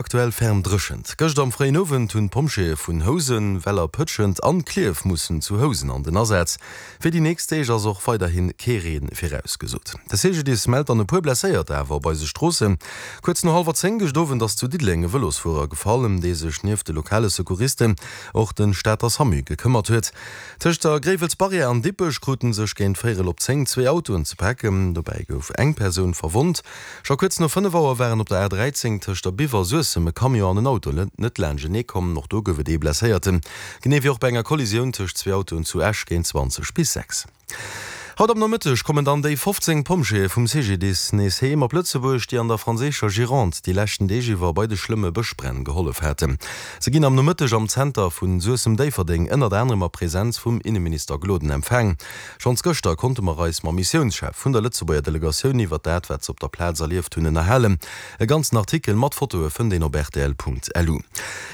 Aktuell ferm dréchent. Gëscht am fréien Owend hunn d'Pompjeeë vun Housen, Weller, Pëtschent an Klierf mussen zu Housen an den Asaz. Fir déi nächst Deeg ass och weiderhi kee Reen virausgesot. De CGDIS mellt dann e puer Blesséierter awer op eise Stroossen. Kuerz no hallwer 10 gëscht Owend ass zu Diddeleng e Vëlosfuerer gefall, ëm dee sech nieft de lokale Secouristen och de Stater Samu gekëmmert huet. Tëscht der Gréiwelsbarrière an Dippech krute sech géint véierel op 10 zwee Autoen ze paken. Dobäi gouf eng Persoun verwonnt. Scho kuerz no 5 Auer waren op der A 13 tëscht der Biwer a Suessem e Camion an en Auto net laanschtenee komm. Och do gouf et ee Blesséierten, genee wéi och bei enger Kollisioun tëscht zwee Autoen zu Esch géint 20 bis 6. Haut am Nomëtteg kommen dann déi 15 Pompjeeë vum CGDIS nees heem op Lëtzebuerg, déi an der franséischer Gironde déi leschten Deeg iwwer bei de schlëmme Bëschbränn gehollef haten. Se ginn am Nomëtteg am Zenter vun Suessem-Déifferdeng ënnert anerem a Presenz vum Inneminister Gloden empfaang. Schonns gëschter konnte mer eis mam Missiounschef vun der Lëtzebuerger Delegatioun iwwert dat, wat se op der Plaz erlieft hunn, ënnerhalen. E ganzen Artikel mat Fotoe fënnt een op rtl.lu.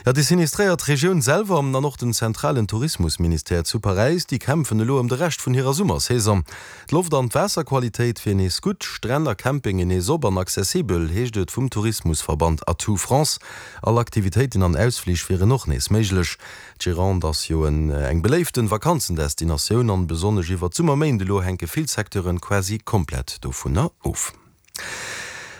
Jo, déi sinistréiert Regioun selwer an och den zentralen Tourismusministère zu Paräis, déi kämpfen elo ëm de Rescht vun hirer Summersaison. D'Loft an d'Waasserqualitéit wier nees gutt, Stränn a Campingen nees op an accessibel, heescht et vum Tourismusverband Atout France. All Aktivitéiten an Ausflich wieren och nees méiglech. D'Gironde ass jo eng beléiften Vakanzendestinatioun an besonnesch iwwert d'Summerméint elo hänke vill Secteuren quasi komplett dovunner of.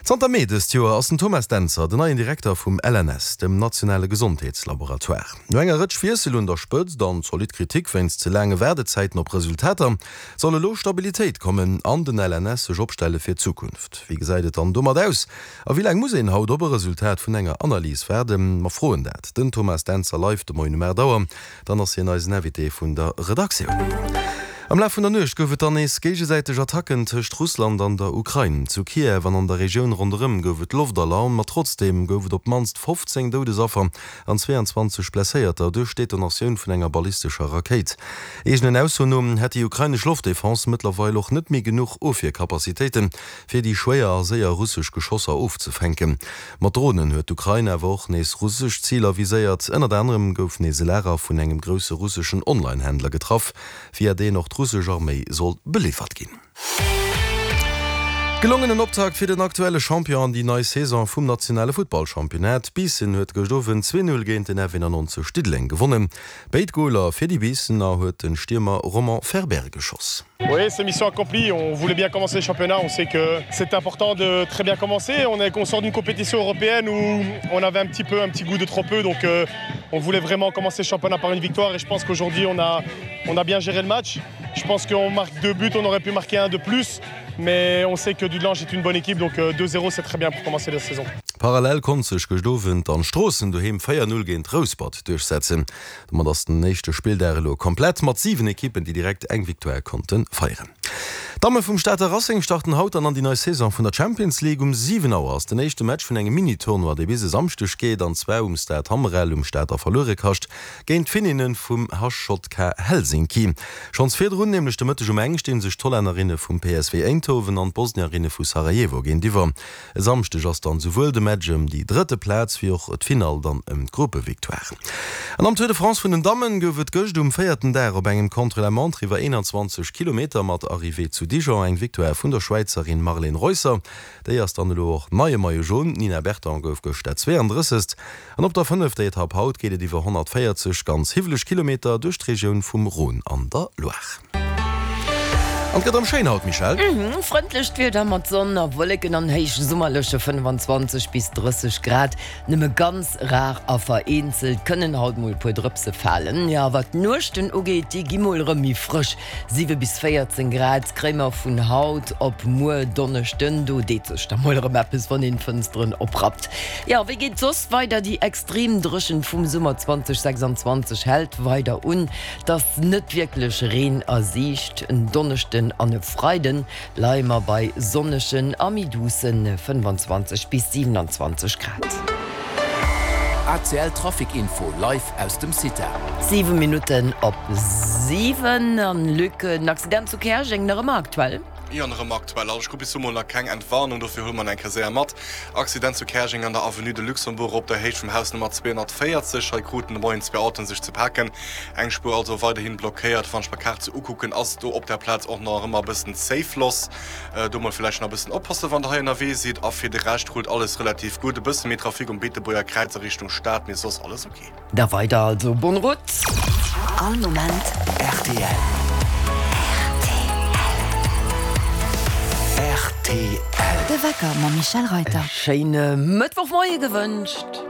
Zanter Mee dëst Joer ass den Thomas Dentzer den neien Direkter vum LNS, dem nationale Gesondheetslaboratoire. No enger Rëtsch Wiessel un der Spëtzt an zolidd Kritik wéinst ze laange Waardezäiten op Resultater, soll elo Stabilitéit kommen an den LNS sech opstelle fir d'Zukunft. Wéi gesäit et dann domat aus? A wéi laang muss een haut op e Resultat vun enger Analys waarden? Mer froen dat den Thomas Dentzer live de Moien um 8 Auer. Dann ass hien eisen Invité vun der Redaktioun. Am Laf vun der Nuecht gouf et dann nees géigesäiteg Attacken tëscht Russland an der Ukrain. Zu Kiew an an der Regioun ronderëm gouf et Loftalarm, ma trotzdeem gouf et op d'mannst 15 Doudesaffer an 22 Blesséierter duerch d'Detonatioun vun enger ballistescher Rakéit. Eegenen Aussoen no hätt déi ukrainesch Loftdefense mëttlerweil och net méi genuch Ofwierkapazitéiten, fir déi schwéier a séier russesch Geschosser ofzefänken. Mat Dronen huet d'Ukrain awer och nees russesch Ziler viséiert. Ënnert anerem gouf nees e Lager vun engem grousse russeschen Online-Händler getraff, via deen och d'russesch Arméi soll beliwwert ginn. Gelongenen Optakt fir den aktuelle Champion an déi nei Saison vum nationale Futtballchampionnat. Biissen huet gëscht Owend 2, 0 géint den F91 Diddeleng gewonnen. Béid Goler fir déi Biissener huet den Stiermer Roman Ferber geschoss. Oui, c'est mission accomplie. On voulait bien commencer le championnat. On sait que c'est important de très bien commencer. On est qu'on sort d'une compétition européenne où on avait un petit peu un petit goût de trop peu. Donc euh, on voulait vraiment commencer le championnat par une victoire et je pense qu'aujourd'hui on a, on a bien géré le match. Je pense qu'on marque deux buts, on aurait pu marquer un de plus. Mais on sait que Dudelange est une bonne équipe, donc 2-0 euh, c'est très bien pour commencer la saison. Parallel konnt sech gëscht Owend dann Stroossen doheem 4, 0 géint Rouspert duerchsetzen. Domat ass den éischte Spilldag elo komplett mat 7 Ekippen, déi direkt eng Victoire konnte feieren. D'Damme vum Stater Racing starten haut dann an déi nei Saison vun der Champions League. Um 7 Auer ass den éischte Match vun engem Mini-Tournoi, dee bis e Samschdeg geet, an zwar um Stade Hammerel um Stater Verluerekascht géint d'Finninne vum HJK Helsinki. Schonns virdrun, nämlech de Mëtteg um eng, sti sech d'Hollännerinne vum PSV Eindhoven an d'Bosnierinne vu Sarajevo géintiwwer. E Samschdeg ass dann souwuel de Match ëm déi drëtte Plaz wéi och d'Finall dann ëm d'Gruppevictoire. An am Tour de France vun den Dammen gouf et gëscht um véierten Dag op engem Contre-la-montre iwwer 21 Kilometer mat Arrivée zu Dijon eng Victoire vun der Schwäizerin Marlene Reusser. Déi ass dann elo och neie Maillot jaune. D'Nina Berton gouf gëscht dat 32. An op der fënnefter Etapp haut geet et iwwer 140 ganz hiwweleg Kilometer duerch d'Regioun vum Rhône an der Loire. An et gëtt erëm schéin haut, Michèle. Frëndlecht Wieder mat Sonn a Wolleken an héichsummerleche 25 bis 30 Grad. Nëmme ganz rar a vereenzelt kënnen haut mol e puer Drëpse falen. Jo, wat d'Nuechten ugeet, déi gi mol erëm méi frësch, 7 bis 14 Grad kréie mer vun haut op muer Donneschden. Do deet sech da mol erëm eppes, wann een d'Fënsteren oprappt. Jo, wéi geet soss weider? Déi extrem Dréchent vum Summer 2026 hält weider un. Et ass net wierklech Reen a Siicht. En Donneschden an e Freide leie mer bei sonnegen a méi duusse 25 bis 27 Grad. ACL Trafic Info live aus dem CITA. 7 Minutten op 7 an Luc, den Accident zu Käerjeng nach ëmmer aktuell? Jo, nach ëmmer aktuell. Also ech krut bis elo mol nach keng Entwarnung, dofir huele mer en eng Kéier séier mat. Accident zu Käerjeng an der Avenue de Luxembourg op der Héicht vum Haus Nummer 240. Hei kruten de Moien zwee Autoen sech ze paken. Eng Spuer also weiderhin blockéiert. Wann ech mer d'Kaart sou ukucken, ass do op der Plaz och nach ëmmer e bëssen Zéifloss. Do mol villäicht nach e bëssen oppassen, wann der hei ënnerwee sidd. A fir de Rescht rullt alles relativ gutt. E bësse méi Trafic um Beetebuerger Kräiz a Richtung Stad, mee soss alles ok. Da weider also, bonne route! All Moment rtl. Rtl. De Wecker mam Michèle Reyter. E schéine Mëttwochmoie gewënscht.